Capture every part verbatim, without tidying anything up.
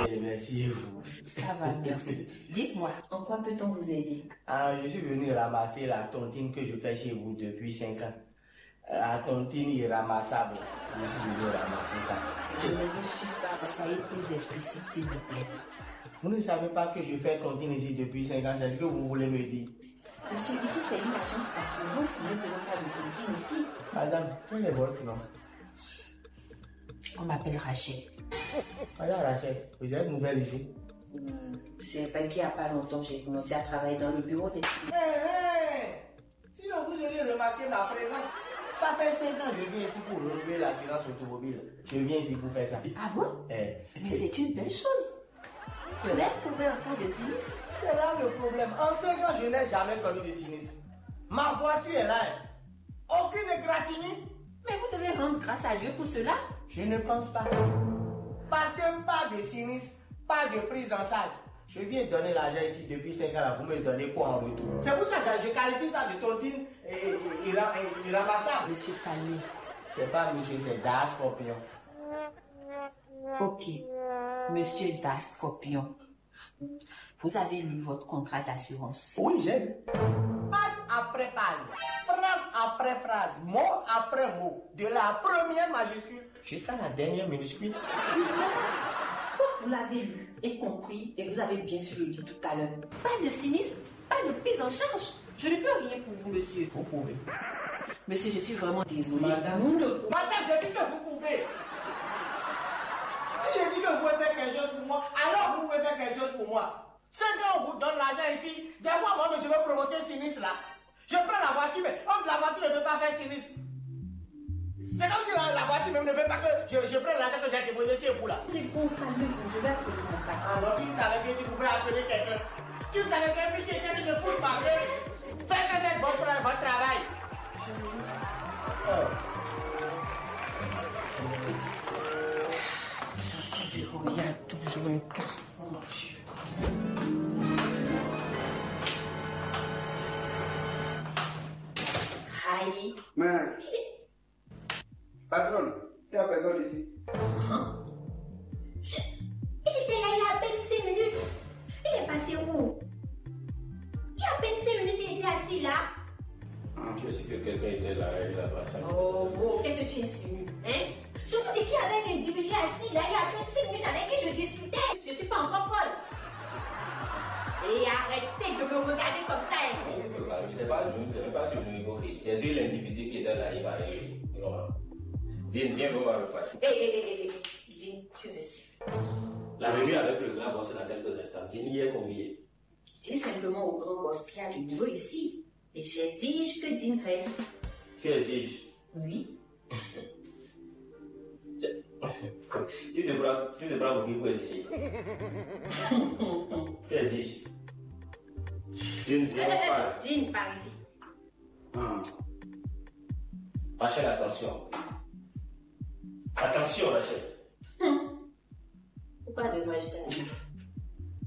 Et merci et vous. Ça va, merci. Dites-moi, en quoi peut-on vous aider ? Ah, je suis venu ramasser la tontine que je fais chez vous depuis cinq ans. La tontine irramassable. Je suis venu ramasser ça. Je ne vous suis pas. Soyez plus explicite, s'il vous plaît. Vous ne savez pas que je fais tontine ici depuis cinq ans, c'est ce que vous voulez me dire ? Monsieur, ici c'est une agence d'assurance, nous ne faisons pas de tontine ici. Madame, quel est votre nom ? On m'appelle Rachel. Madame Rachel, vous êtes nouvelle ici ? Hmm, c'est vrai qu'il n'y a pas longtemps, j'ai commencé à travailler dans le bureau des... Hé, hé ! Sinon, vous auriez remarqué ma présence. Ça fait cinq ans que je viens ici pour renouveler l'assurance automobile. Je viens ici pour faire ça. Ah bon ? Eh. Mais c'est une belle chose. Vous êtes couvert en cas de sinistre ? C'est là le problème. En cinq ans, je n'ai jamais connu de sinistre. Ma voiture est là, hein. Aucune égratignure. Mais vous devez rendre grâce à Dieu pour cela. Je ne pense pas. Parce que pas de sinistre, pas de prise en charge. Je viens donner l'argent ici depuis cinq ans là, vous me donnez quoi en retour ? C'est pour ça que je qualifie ça de tontine et, et, et, et, et ramassable. Monsieur, calmez. C'est pas monsieur, c'est Das Scorpion. Ok, monsieur Das Scorpion. Vous avez lu votre contrat d'assurance ? Oui, j'ai lu. Page après page, phrase après phrase, mot après mot, de la première majuscule jusqu'à la dernière minuscule. Quand vous l'avez lu et compris, et vous avez bien sûr dit tout à l'heure, pas de sinistre, pas de prise en charge. Je ne peux rien pour vous, monsieur. Vous pouvez. Monsieur, je suis vraiment désolée. Madame, madame, je dis que vous pouvez. Si je dis que vous pouvez faire quelque chose pour moi, alors vous pouvez faire quelque chose pour moi. C'est quand on vous donne l'argent ici, des fois moi-même je vais provoquer sinistre là. Je prends la voiture, mais on dit la voiture ne veut pas faire sinistre. C'est comme si la, la voiture même ne veut pas que je, je prenne l'argent que j'ai déposé chez vous là. C'est bon, calmez-vous, je vais appeler mon patron. Alors, qui savait que tu pouvais appeler quelqu'un ? Qui savait que monsieur était de foot marqué ? Faites peut-être votre, votre travail. Dans ce bureau, il y a toujours un cas. Oh mon Dieu. Aïe. Mais, patronne, il y a personne ici. Hein ? Je- Il était là il y a à peine cinq minutes. Il est passé où ? Il y a à peine cinq minutes, il était assis là. Ah, je sais que quelqu'un était là, il a passé. Oh, oh, qu'est-ce que tu insinues, hein ? Je vous dis qu'il y avait un individu assis là, il y a à peine cinq minutes avec qui je discutais. Je suis pas encore folle. Et arrêtez de me regarder comme ça, hein. C'est pas lui, c'est pas sur lui, ok. C'est sur l'individu qui était là, il va arriver. Dis, viens, on va repartir. Hé, hé, hé, hé, hé. Dis, tu me suis. La revue avec le grand boss dans quelques instants. Dis, il y a combien ? Dis simplement au grand boss qu'il y a du boulot ici. Et j'exige que Dean reste. Tu exiges ? Oui. Tu te prends, tu te prends pour qui pour exiger ? Tu exiges. Tu ne viens pas. Dean, par ici. Ah. Rachel, attention. Attention, Rachel. Pourquoi devrais-je faire attention ?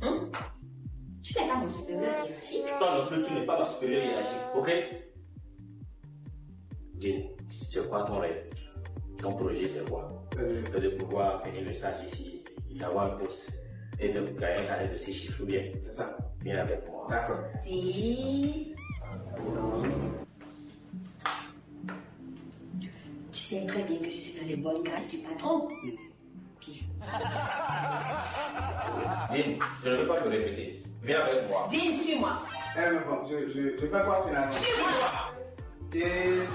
Hein ? Tu n'es pas mon supérieur hiérarchique. Toi non plus, tu n'es pas ma supérieure hiérarchique, ok ? Dean, c'est quoi ton rêve ? Ton projet, c'est quoi ? Euh. C'est de pouvoir finir le stage ici, d'avoir un poste et de gagner un salaire de six chiffres, ou bien ? C'est ça. Viens avec moi. D'accord. Dean. Tu sais très bien que je suis dans les bonnes grâces du patron. Bien. Dean, je ne veux pas me répéter. Viens avec moi. Dean, suis-moi. Eh, mais bon, je, je, je fais quoi finalement ? Suis-moi. Jésus.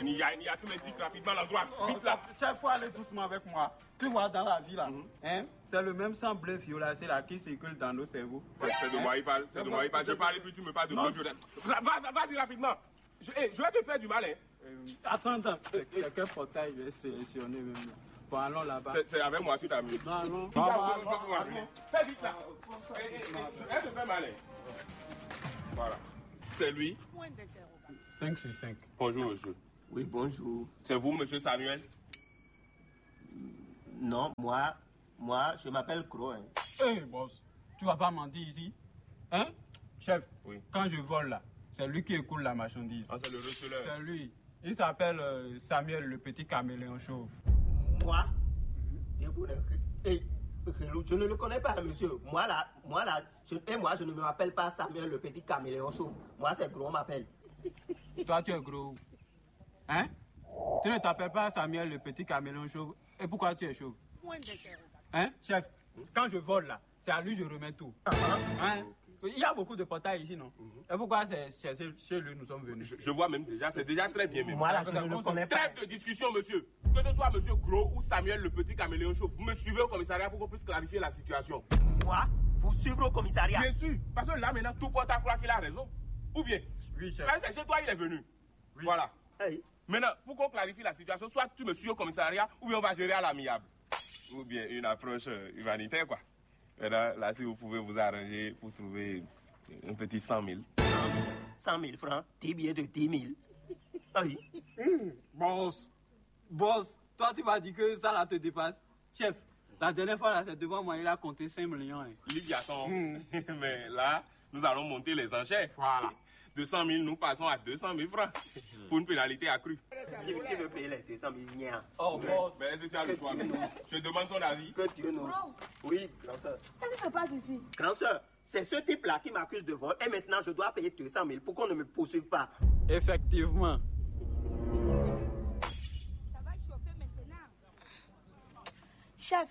Nia, Nia, tu me dis rapidement l'endroit. Vite là. Chaque fois, allez doucement avec moi. Tu vois, dans la vie là, hein, c'est le même sang bleu violacé là qui circule dans nos cerveaux. C'est de moi il parle, c'est de moi il parle. Je parle et puis tu me parles de bleu violacé. Va, va, vas-y rapidement. Je, eh, je vais te faire du mal, hein. Euh, attends, attends. C'est quel portail je vais sélectionner même là ? Bon, allons là-bas. C'est avec moi, tu t'amuses. Non, non. Fais vite là. Eh, eh, eh, je vais te faire mal, hein. Voilà. C'est lui. Point d'interrogation. Cinq sur cinq. Bonjour, monsieur. Oui, bonjour. C'est vous, monsieur Samuel ? Non, moi, moi, je m'appelle Crow, hein. Hey, boss, tu vas pas mentir ici. Hein ? Chef, oui, quand je vole là, c'est lui qui écoule la marchandise. Ah, c'est le receleur. C'est lui. Il s'appelle, euh, Samuel, le petit caméléon chauve. Moi, debout, eh, eh, je ne le connais pas, monsieur. Moi là, moi là, je, et moi, je ne m'appelle pas Samuel le petit caméléon chauve. Moi, c'est Gros, on m'appelle. Toi, tu es gros. Hein? Tu ne t'appelles pas Samuel le petit caméléon chauve. Et pourquoi tu es chauve? Hein, chef, quand je vole là, c'est à lui je remets tout. Hein? Il y a beaucoup de portails ici, non? Et pourquoi c'est c'est chez chez lui nous sommes venus? Je, je vois même déjà, c'est déjà très bien même. Moi là, je ne le connais pas. Trêve de discussion, monsieur. Que ce soit monsieur Gros ou Samuel le petit caméléon chauve, vous me suivez au commissariat pour qu'on puisse clarifier la situation. Moi, vous suivre au commissariat. Bien sûr, parce que là maintenant, tout porte à croire qu'il a raison. Ou bien, oui, chef, là, c'est chez toi, il est venu. Oui. Voilà. Hey. Maintenant, pour qu'on clarifie la situation, soit tu me suis au commissariat, ou bien on va gérer à l'amiable. Ou bien une approche euh, humanitaire, quoi. Maintenant, là, si vous pouvez vous arranger pour trouver un petit cent mille. Cent mille francs, dix billets de dix mille. Aïe. Hmm, boss, boss, toi, tu m'as dit que ça là te dépasse. Chef, la dernière fois, là, c'est devant moi, il a compté cinq millions, hein. Libyaton. Hmm. Mais là, nous allons monter les enchères. Voilà. Deux cent mille, nous passons à deux cent mille francs pour une pénalité accrue. Qui, qui veut payer les deux cent mille? Nia. Oh, mais, mais est-ce que tu as le choix? Je demande son avis. Que Dieu nous. Bro. Oui, grand sœur. Qu'est-ce qui se passe ici? Grand sœur, c'est ce type-là qui m'accuse de vol et maintenant je dois payer deux cent mille pour qu'on ne me poursuive pas. Effectivement. Ça va chauffer maintenant. Chef,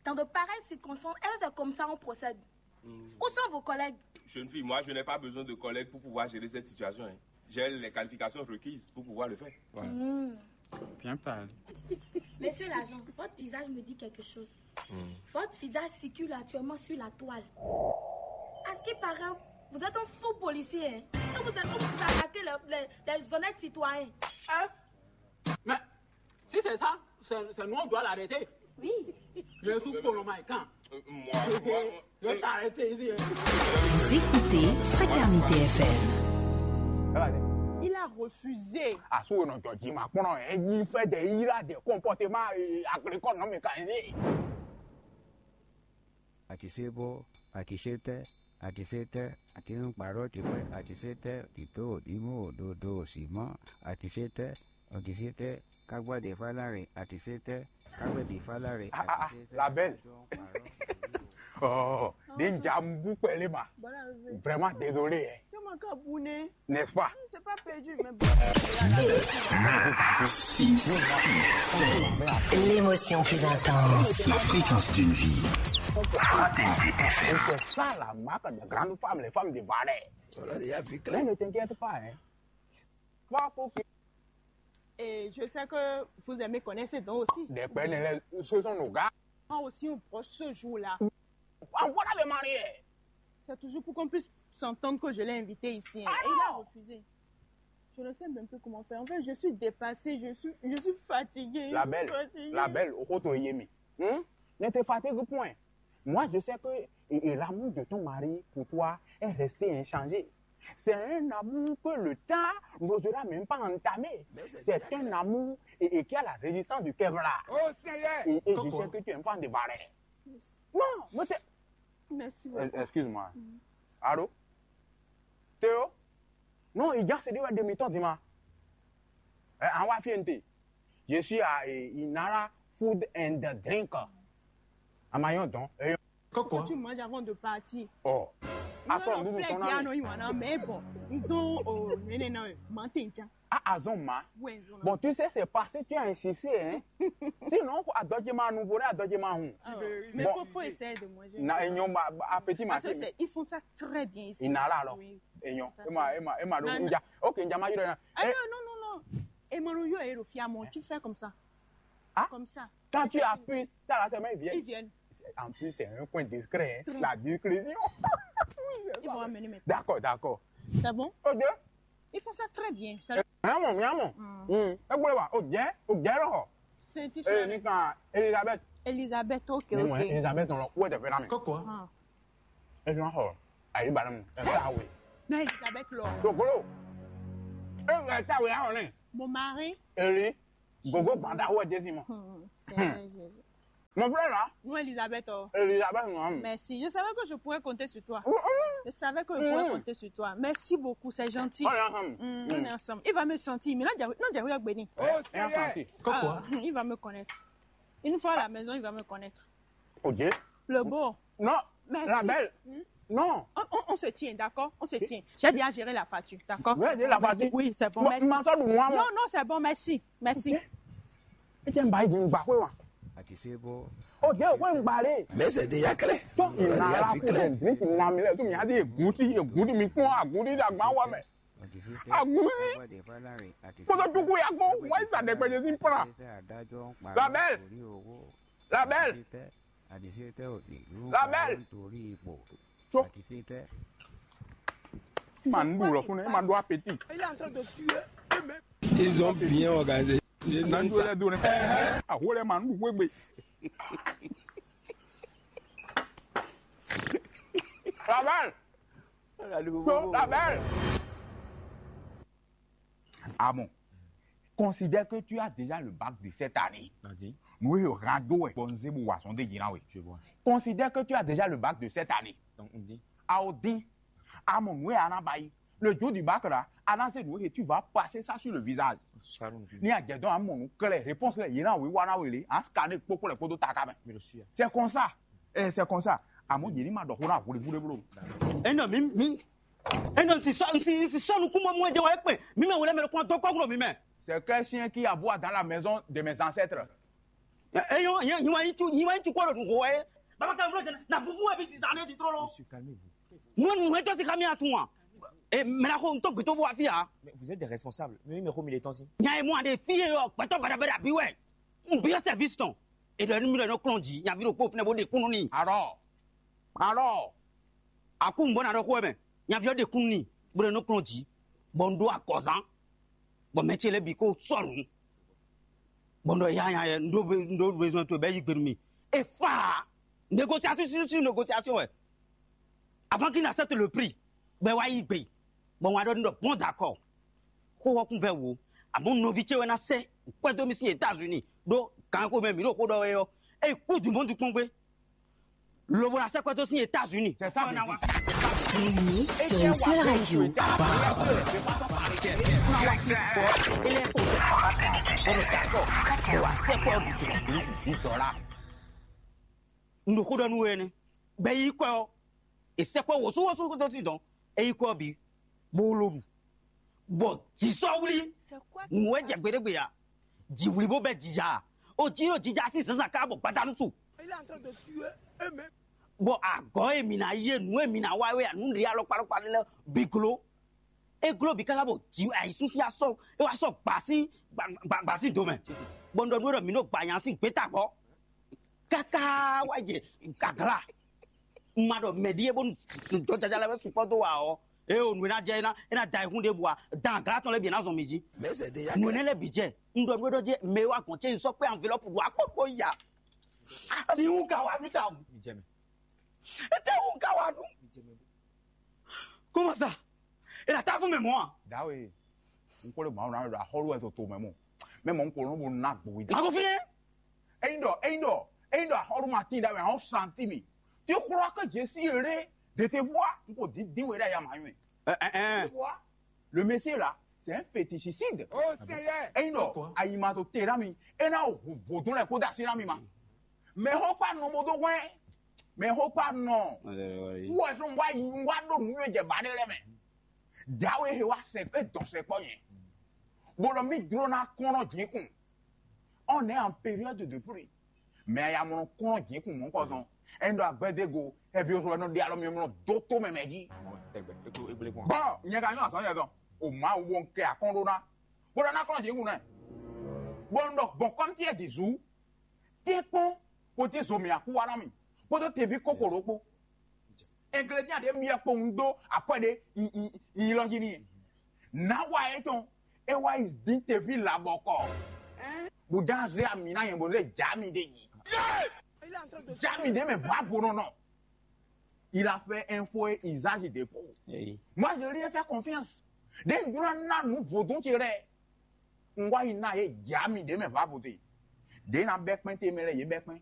dans de pareilles circonstances, est-ce que c'est comme ça on procède? Où sont vos collègues? Jeune fille, moi, je n'ai pas besoin de collègues pour pouvoir gérer cette situation, hein. J'ai les qualifications requises pour pouvoir le faire. Voilà. Hmm. Bien parlé. Monsieur l'agent, votre visage me dit quelque chose. Votre visage circule actuellement sur la toile. À ce qui paraît, vous êtes un faux policier, hein. Et vous êtes, vous attaquez les, les, les honnêtes citoyens. Hein? Mais si c'est ça, c'est c'est nous, on doit l'arrêter. Oui. Je suis pour le Maïkan. Euh, moi, moi, je vais t'arrêter ici, hein. Vous écoutez Fraternité F M. Il a refusé. Asúwònà jọ̀jì máa kpọ́n ẹ̀ yí fẹ́ dẹ̀ yí rà dẹ̀ kọ́ńpọ́tẹ́mà agrikọ́nù mi kàn yín. Àtisebo, àtisétɛ, àtisétɛ, àtinúkparọ́ tipẹ́, àtisétɛ, òtítọ́, òdìmú, òdodo, òsìmọ́, àtisétɛ, òtítítɛ, kágbádé fálárè, àtisétɛ, kágbébí fálárè, ah, ah, ah, àtisétɛ, la belle. Àjọ ń parọ́. Oh, déjà, mbú pẹ̀lú ma. Voilà, oui. Vraiment désolé, hein. Comment kabouné? N'est-ce pas? C'est pas perdu, mais bon. Neuf, six, six, sept. L'émotion plus intense. La fréquence d'une vie. Fraternité F M. Et c'est ça la marque de grandes femmes, les femmes de valeur. On l'a déjà vu clair. Mais ne t'inquiète pas, hein. Faut que... Et je sais que vous aimez connaître ce don aussi. Des peines, ce sont nos gars. Moi aussi, on proche ce jour-là. On va les marier. C'est toujours pour qu'on puisse s'entendre que je l'ai invité ici, hein. Ah, et il a non, refusé. Je ne sais même plus comment faire. En fait, je suis dépassée, je suis, je suis fatiguée, je suis fatiguée. La belle, la belle, au côté Yémi. Hein? Ne te fatigue point. Moi, je sais que et, et l'amour de ton mari pour toi est resté inchangé. C'est un amour que le temps n'osera même pas entamer. C'est un amour et, et qui a la résistance du Kevlar. Oh Seigneur! Et, et je sais que tu es un fan de Barret. Non, mais t'es... Merci beaucoup. Excuse-moi. Allô? Théo? Non, il y a celui de mi-temps, dis-moi. Eh, en Wafiente. Je suis à eh, Inara Food and Drink. À Mayon, donc. Eh, Kókó. Faut que tu manges avant de partir. Oh. Aso nunu sɔn na mi. Mais bon, ils ont oh, non, non, non, mantenja. Ah, azɔn ma. Ouais, ils ont. Bon, tu sais, c'est parce que tu as insisté, hein. Sinon, adɔjima nouveau, adɔjima hon. Ah, ouais. Mais bon, faut, faut essayer de manger. Na enyo ma appétit ma. Parce que c'est, ils font ça très bien ici. Inara alors. Oui. Enyo. Ema ema ema do. Ok, nja ma yiro na. Ah non, non, non, non. Et mon yo est le fiamon, tu fais comme ça. Ah? Comme ça. Quand tu appuies, t'as la semaine, ils viennent. Ils viennent. En plus, c'est un coin discret, hein. La discrétion. Ils vont amener mes... D'accord, d'accord. C'est bon? Ok. Ils font ça très bien. Ça... Eh, vraiment, vraiment. Hmm. Eh, bon, là, ok, ok, là. C'est un t-shirt. Eh, Nika, Elisabeth. Elisabeth, ok, ok. Elisabeth, on l'a... Où est-ce que... Kókó. Ah. Ẹ fi hàn xɔ ayíba nínú ẹ ká wé. Náà Elizabeth lọ. Dògbólò. Ẹ ká wé ahọ́n ní. Mo máa rí. Èrè. Gbogbo gbàdá wọ jẹ́ sí mọ́. Hmm, Seigneur Jésus. Mon frère là, Nous, Elisabeth. Oh. Elisabeth, non. Merci. Je savais que je pourrais compter sur toi. Oui, oui. Je savais que je pourrais compter sur toi. Merci beaucoup, c'est gentil. On est ensemble. Mm, on est ensemble. Il va me sentir. Mais non, Dieu, non, Dieu, Béni. Oh, Seigneur. Ah, il va me connaître. Une fois à la maison, il va me connaître. Ok. Le beau. Non, merci. La belle. Hmm? Non. On, on, on se tient, d'accord? On se tient. J'ai déjà géré la facture, d'accord? Oui, j'ai la facture. Oui, c'est bon, merci. Non, non, c'est bon, merci. Merci. Et tu es un bail d'une barre, quoi. Ok, ouais, un balai. Mais c'est déjà clair. Donc, il a la cour, il a mis les tout, il a dit, goûté, goûté, mais quoi, goûté, la main, ouais, mais. Agunlé. Kpɔtɔ tuku ya kpɔ, wá yi sa ɖɛkpɛ jɛ sín plan. Labɛl. Labɛl. Labɛl. Tso. Ma nu ɖu lɔ fún ne, ma ɖu apeti. Il est en train de suer. Ils ont bien organisé. Na nu ɖu lɛ do ne. Aho lɛ ma nu ɖu wegbe. Labɛl. Tso, labɛl. Ah bon. Considère que tu as déjà le bac de cette année. Nadi. Nous, il y aura deux, ouais. Bon, c'est bon, ouais, son déguisé, oui. Je vois. Considère que tu as déjà le bac de cette année. Donc, on dit. Ah, on dit. Ah, mon, oui, on a bail. Le jour du bac, là, à la, c'est nous, et tu vas passer ça sur le visage. Ni a jɛ dɔn amɔ nu klɛ réponse lɛ yina wi wana wele a scanner kpokpo lɛ kpodo taka mɛ. C'est comme ça. Eh, c'est comme ça. Amɔ yeli ma dɔ hona huli huli blo. E nɔ mi mi e nɔ si sɔ si si sɔ nukun mɔ mɔ jɛ wa ekpe mi mɛ wele mɛ kɔn dɔ kɔkɔ mi mɛ. C'est quel chien qui aboie dans la maison de mes ancêtres? E yɔ yɛ yiwa yi tu yiwa yi tu kɔ lɔ nugo wɛ. Baba ka wolo jɛ na vuvu wa bi ti zan ne ti trɔ lɔ. Monsieur, calmez-vous. Mo nu hɛn tɔ si ka mi atun wa. E mɛ na ko n to gbe to bo wa fi ya. Mais vous êtes des responsables. Mais oui, mais ko mi le temps si. Nya e mo ade fi e yɔ gbɛtɔ bada bada bi wɛ. N bi service tɔn. E dɔ nu mi dɔ no klɔn ji nya vi ɖo kpo fnɛ bo de kunu ni. Arɔ. Arɔ. Aku n bɔ na ɖɔ ko mɛ. Nya vi ɔ de kunu ni. Bo de no klɔn ji. Bɔ n do akɔzan. Bɔ mɛ ce lɛ bi ko sɔnu. Bɔ n dɔ ya ya ya n do be- n do besoin to bɛ yi gbenu mi. E fa. Négociation sur sur négociation wɛ. Avant qu'il n'accepte le prix, ben wa yi gbe. Bon, wa ɖɔ ɖɔ bon, d'accord. Xó ɔ́ kún vɛ wò. Àmọ́ nɔví ce wɛ ná sɛ́ kwɛ́ dó mì sín États-Unis ɖó gǎn xomɛ mǐ ɖo xó ɖɔ wɛ ɔ́. Ée kú du monde kpɔ́n gbé. Lobo ná sɛ́ kwɛ́ dó sín États-Unis. C'est ça. Bienvenue sur une seule radio. Un nouveau donne. Bɛ yi kwɛ ɔ, e sɛ kwɛ wosu wosu kó tó sin dɔn, e yi kwɛ ɔ bǐ, bó ló ɖu, bɔ jǐ sɔ́ wlí. Nǔ wɛ jɛ gbeɖégbe ǎ. Jǐ wlí bó bɛ jija. O jí ɖo jija sín zǎnzǎn ká bɔ gbadanu su. Bɔ agɔ̌ e mǐ ná yí e nǔ e mǐ ná wa wɛ ǎ, nǔ ɖě alɔkpa alɔkpa lɛ́ɛ bǐ gló. É gló bǐ káká bɔ jǐ ayǐsúnsi asɔ é wá sɔ gbǎ sín gbǎ gbǎ sín do mɛ. Bɔ un ɖɔ nú we ɖɔ mǐ ɖo gbǎ nya sín gbětagbɔ. Káká wá jɛ gǎglá. Un ma ɖɔ mɛ ɖíe bónú jɔjɔjɔjɔ lɛ́ɛ wɛ sukpɔ́ dó wa ɔ́, ée o nǔ e ná jɛ é ná é ná da ayihún ɖěbǔ ǎ, dan glǎ tɔn lɛ́ɛ bǐ ná zɔn mì jí. Nǔ énɛ́ lɛ́ɛ bǐ jɛ, un ɖɔ nú we ɖɔ jɛ mɛ e wá gɔ̌n ce nyi sɔ́ kpé anvilɔ́pu ɖo akpókpó ya. Ani wú ka wá nú ta wú. Étɛ́ wú ka wá nú? Comment ça? E ɖo atáfún mɛ mɔ̌ a? Dawe, un ko le mawun na ɖo axɔlu wɛ to to mɛ mɔ. Mɛ mɔ un ko lɔn bo na gbo wi. Mago fine. Eyin ɖɔ, eyin ɖɔ, eyin ɖɔ axɔlu ma tin ɖawe, ahɔn santi mi. Tu crois que Jésus eré de tes voix? Un ko di din we ɖa ya ma yun. Eh eh eh. Tu vois? Le Messie là, c'est un fétichicide. Oh Seigneur. Eyin ɖɔ ayi ma to te ɖa mi, e na hu vodun lɛ ko da si na mi ma. Mɛ xɔ kpa nɔ bo do hwɛ. Mɛ xɔ kpa nɔ. Wɔ sɔn wa yi wa ɖo nu yɔ jɛ ba ɖe lɛ mɛ. Dawe he wa sɛ kpe dɔn sɛ kpɔ yɛ. Bo ɖɔ mi dro na kɔn nɔ jɛ kun. On est en période de pluie. Mais ya mɔ kɔn jɛ kun mɔ kɔ zɔn. Ɛn ɖo agbɛdego, ɛvi oso ɛnɔ ɖe alɔ mi mɔ do to mɛ mɛ ji. Tɛgbɛ, eklo eble kɔn. Bɔ nyɛ ka nyɔ azɔn yɛ dɔn. O ma wo bo kɛ akɔn ɖo na. Bo ɖɔ na kɔn jɛ kun nɛ. Bo ɖɔ bɔn kɔm tiɛ di zu. Tɛ́nkpɔ́n kpódó zomɛ akúwá ná mì kpódó teví kókòrò kpó. Ingrédients ɖé myɔ kpowun dó akwɛ́ ɖé yi yi yi lɔ jí n'i. Nǎ wa étɔn é wá yi dín teví labɔkɔ. Bùdá zé ami ná yẹn bó zé dza mi ɖe yi. Dza mi ɖe mɛ vǎ bonɔ nɔ. Il a fait un faux usage de faux. Moi, je lui ai fait confiance. Ɖe un jló ná nǔ vodún ce lɛ́ɛ. Un wá yi ná yě dza mi ɖě mɛ vǎ vodún. Ɖě ná bɛ́ kpɛ́n te mɛ lɛ́ɛ yě bɛ́ kpɛ́n.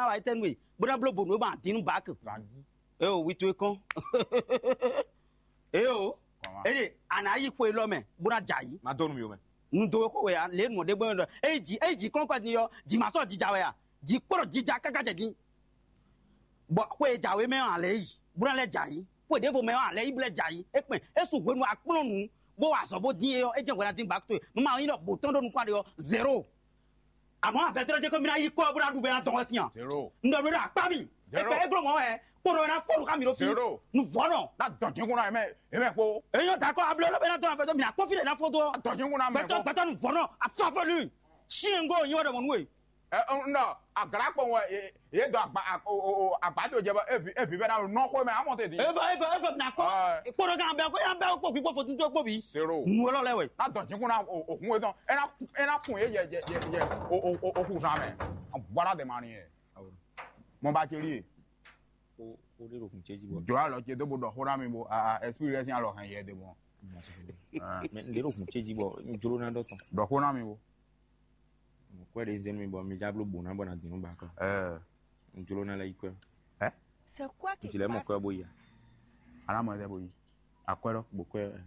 ná wa étɛ́ nú we, bó ná bló bǒ nú we gbɔn adǐn nú bǎk. Eo, wi towe kɔn. Eo, Kɔn wá. Eye a nǎ yi xwe élɔ́ mɛ, bó ná jɛ ayǐ. Má dó nú mi ó mɛ. Nu do we xo wɛ a, lě nǔ ɖé gbɔn ɖɔ. Eye jǐ, eye jǐ kɔ́nkɔ́ din ɔ́, jǐ ma sɔ́ jija wɛ a? Jǐ kpɔ́ ɖɔ jija káká jɛ din. Bɔ xwe e jǎwe mɛ ɔ́, a lɛ́ yi, bó ná lɛ́ jɛ ayǐ. Xwe ɖěvo mɛ ɔ́, a lɛ́ yi bó lɛ́ jɛ ayǐ. É kpɛn, é su hwenu akplɔ́n nǔ, bó wa azɔ̌ bó dín é ɔ́, é jɛ́n hwɛ ná dín gbǎkúto e. Mɛ ma nyí ɖɔ bǒ tɔn ɖo nukɔn ɖe ɔ́, zéro. Àmọ́ àfẹ́tɔ́ jẹ́ kó mi ná yí kɔ bó ná ɖu bɛ́ ná dɔn wɛ sín a? Zéro. Un ɖɔ mi ɖo akpá mi. Zéro. Ẹgbẹ́ égló mọ́ wɛ kpóɖó ná fóɖu ká mi ɖó fi. Zéro. Nu vɔ́nɔ. Ná dɔn jǐnukún ná mɛ, é mɛ kpo. Èyí ná dakɔ abló ló bɛ ná dɔn àfẹ́tɔ́ mi ná kpɔ́n fí lè ná fó dó. Dɔn jǐnukún ná mɛ Gbɛtɔ gbɛtɔ nu vɔ́nɔ afáfɔlú. Siɛngo nyi wɛ ɖɔ mɔ nú we. Ɛ, ɔ, nɔ, aglá kpɔn wɛ, e, e dɔ agba, a, o, o, o, agba to jɛ bɔ, evi, evi bɛ na nɔ xo mɛ, amɔ te di. Eva, eva, eva, na kpɔ. Ɛ. Kpɔɖɔ kan bɛ, ko ya bɛ, ko kpi, ko fo tuntun, ko bi. Zéro. Nu lɔ lɛ wɛ. Na dɔn jikun na o, o hun etɔn. E na, e na kun ye, ye, ye, ye, ye, o, o, o, o kun zan mɛ. Bɔra de ma ni ye. Mo ba teli ye. O, o de ɖo kun ce jí bɔ. Jɔ alɔ ce do bo ɖɔ xó na mi bo, a, a, esprit lɛ sin alɔ hɛn yɛ de bɔ. Mɛ n de ɖo kun ce jí bɔ, n jló na dɔ tɔn. Ɖɔ xó na mi bo. Kwɛ ɖe zɛn mi bɔ mi dza bló bo na bɔ na dinu ba kɔ. Ɛɛ. N jló na lɛ yi kwɛ. Ɛ? C'est quoi qui N ti lɛ mɔ passe? Kwɛ bo yi. Ana mɔ ɛdɛ bo yi. Akwɛ lɔ. Bo kwɛ.